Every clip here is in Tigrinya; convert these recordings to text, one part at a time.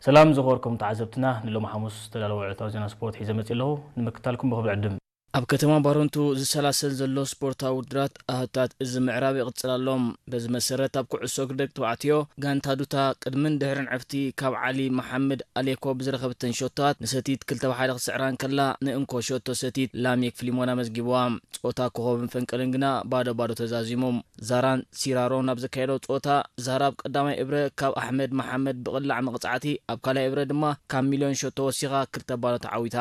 ሰላም ዝኸበርኩም ተዓዘብትና፣ ንሎሚ ሓሙስ ዝተዳለወ ዕለታዊ ዜና ስፖርት ሒዘ መጺእ ኣለኹ። ንምክታልኩም ብኽብሪ ዕድም። ኣብ ከተማ ባረንቱ ዝሰላሰል ዘሎ ስፖርታዊ ውድድራት ኣህታት እዚ ምዕራብ ይቕጽል ኣሎ። በዚ መሰረት ኣብ ኩዕሶ እግሪ ደቂ ተባዕትዮ ጋንታ ዱታ ቅድምን ድሕርን ዕፍቲ ካብ ዓሊ መሓመድ ኣሌኮ ብዝረኸብተን ሾቶታት ንሰቲት ክልተ ብ ሓደ ክትስዕራ እንከላ ንእንኮ ሾቶ ሰቲት ላሜክ ፍሊሞና መዝጊብዋ። ጾታ ኮኸብን ፈንቅልን ግና ባዶ ባዶ ተዛዚሙ። ዛራን ሲራሮን ኣብ ዘካየዶ ጸወታ ዛራ ኣብ ቀዳማይ እብረ ካብ ኣሕመድ መሓመድ ብቕላዕ መቕጻዕቲ ኣብ ካልኣይ እብረ ድማ ካብ ሚልዮን ሾቶ ወሲኻ ክልተ ባዶ ተዓዊታ።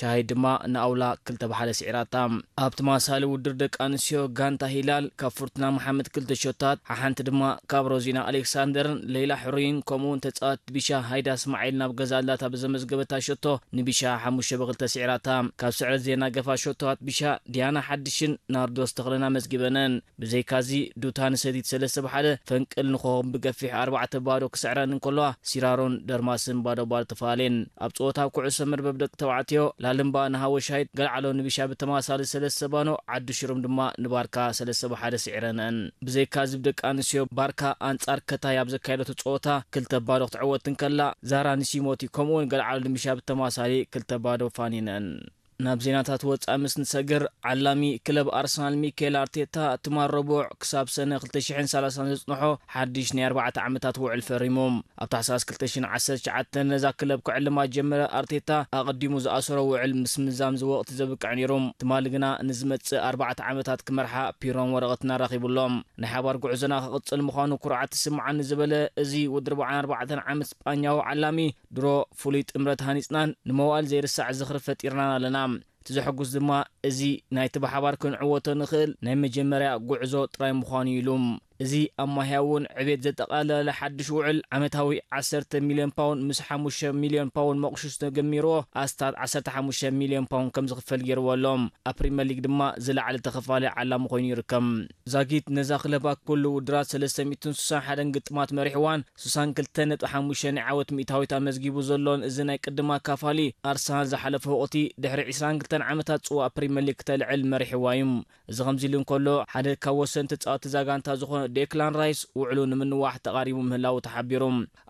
ሻሂድ ድማ ንኣውላ ክልተ ብ ሓደ ስዒራታ። ኣብ ተመሳሳሊ ውድድር ደቂ ኣንስትዮ ጋንታ ሂላል ካብ ፍርቱና መሓመድ ክልተ ሾታት ሓሓንቲ ድማ ካብ ሮዚና ኣሌክሳንደርን ሌላ ሕሩይን ከምኡውን ተጻዋት ቢሻ ሃይዳ እስማዒል ናብ ገዛ ኣላታ ብዘመዝገበታ ሾቶ ንቢሻ ሓሙሽተ ብ ክልተ ስዒራታ። ካብ ስዕረት ዜና ገፋ ሾቶታት ቢሻ ዲያና ሓድሽን ናርዶስ ተኽለን ኣመዝጊበነን። ብዘይካዚ ዱታ ንሰቲት ሰለስተ ብ ሓደ ፈንቅል ንኾኾብ ብገፊሕ ኣርባዕተ ብ ባዶ ክስዕረን እንከለዋ ሲራሮን ደርማስን ባዶ ባዶ ተፈላለየን። ኣብ ጸወታ ኩዕሶ መርበብ ደቂ ተባዕትዮ ላልምባ ንሃወሻይት ገልዓሎ ንቢሻ ብተመሳሳሊ ሰለስተ ባኖ ዓዲ ሽሩም ድማ ንባርካ ሰለስተ ብ ሓደ ስዒረነን። ብዘይካዚ ብደቂ ኣንስትዮ ባርካ ኣንጻር ከታይ ኣብ ዘካየደቶ ጸወታ ክልተ ብ ባዶ ክትዕወት እንከላ ዛራ ንሲሞቲ ከምኡውን ገልዓሎ ንቢሻ ብተመሳሳሊ ክልተ ብ ባዶ ፋኒነን። ናብ ዜናታት ወጻኢ ምስ ንሰግር፣ ዓላሚ ክለብ ኣርሰናል ሚካኤል ኣርቴታ ትማል ረቡዕ ክሳብ ሰነ ክልተ ሽሕን ሰላሳን ዘጽንሖ ሓድሽ ናይ ኣርባዕተ ዓመታት ውዕል ፈሪሙ። ኣብ ታሕሳስ ክልተ ሽሕን ዓሰርተ ትሽዓተ ነዛ ክለብ ክዕልማ ዝጀመረ ኣርቴታ ኣቐዲሙ ዝኣሰሮ ውዕል ምስ ምዛም እዚ ወቕቲ ዘብቅዕ ነይሩ። ትማሊ ግና ንዝመጽእ ኣርባዕተ ዓመታት ክመርሓ ፒሮን ወረቐትና ኣራኺቡ ኣሎ። ናይ ሓባር ጉዕዞና ክቕጽል ምዃኑ ኩርዓት ትስምዓኒ ዝበለ እዚ ወዲ ኣርባዓን ኣርባዕተን ዓመት ስጳኛዊ ዓላሚ ድሮ ፍሉይ ጥምረት ሃኒጽናን ንመዋእል ዘይርሳዕ ዝኽሪ ፈጢርናን ኣለና። እቲ ዘሐጉስ ድማ እዚ ናይቲ ብሓባር ክንዕወቶ ንኽእል ናይ መጀመርያ ጉዕዞ ጥራይ ምዃኑ እዩ ኢሉ። እዚ ኣብ ማህያ እውን ዕቤት ዘጠቓለለ ሓድሽ ውዕል ዓመታዊ ዓሰርተ ሚልዮን ፓውንድ ምስ ሓሙሽተ ሚልዮን ፓውንድ መቑሽሽ ተገሚርዎ ኣስታት ዓሰርተ ሓሙሽተ ሚልዮን ፓውንድ ከም ዝኽፈል ገይርዎ ኣሎ። ኣብ ፕሪምየር ሊግ ድማ ዝለዓለ ተኸፋሊ ዓላሚ ኮይኑ ይርከብ። ዛጊት ነዛ ክለብ ኣብ ኩሉ ውድድራት ሰለስተ ሚእትን ስሳን ሓደን ግጥማት መሪሕዋን ስሳን ክልተ ነጥቢ ሓሙሽተ ናይ ዓወት ሚእታዊት ኣመዝጊቡ ዘሎን እዚ ናይ ቅድም ኣካፋሊ ኣርሰናል ዝሓለፈ ወቕቲ ድሕሪ ዕስራን ክልተን ዓመታት ጽዋእ ፕሪምየር ሊግ ክተልዕል መሪሕዋ እዩ። እዚ ከምዚ ኢሉ እንከሎ ሓደ ካብ ወሰንቲ ተጻወቲ እዛ ጋንታ ዝኾነ ዴክላን ራይስ ውዕሉ ንምንዋሕ ተቓሪቡ ምህላዉ ተሓቢሩ።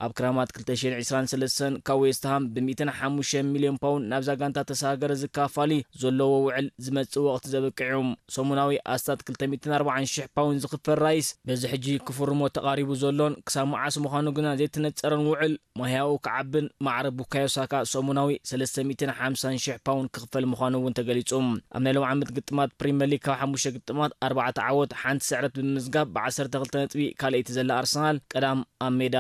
ኣብ ክራማት ክልተ ሽሕን ዕስራን ሰለስተን ካብ ዌስትሃም ብ ሚእትን ሓሙሽተን ሚልዮን ፓውንድ ናብዛ ጋንታ ተሰጋገረ ዝካፋሊ ዘለዎ ውዕል ዝመጽእ ወቕቲ ዘብቅዕ እዩ። ሰሙናዊ ኣስታት ክልተ ሚእትን ኣርባዓን ሽሕ ፓውንድ ዝኽፈል ራይስ በዚ ሕጂ ክፍርሞ ተቓሪቡ ዘሎን ክሳብ መዓስ ምዃኑ ግና ዘይተነጸረን ውዕል ማህያኡ ክዓብን ማዕረ ቡካዮ ሳካ ሰሙናዊ ሰለስተ ሚእትን ሓምሳን ሽሕ ፓውንድ ክኽፈል ምዃኑ እውን ተገሊጹ። ኣብ ናይ ሎም ዓመት ግጥማት ፕሪምየር ሊግ ካብ ሓሙሽተ ግጥማት ኣርባዕተ ዓወት ሓንቲ ስዕረት ብምምዝጋብ ብ ዓሰርተ ክልተ ነጥቢ ካልኣይቲ ዘላ ኣርሰናል ቀዳም ኣብ ሜዳ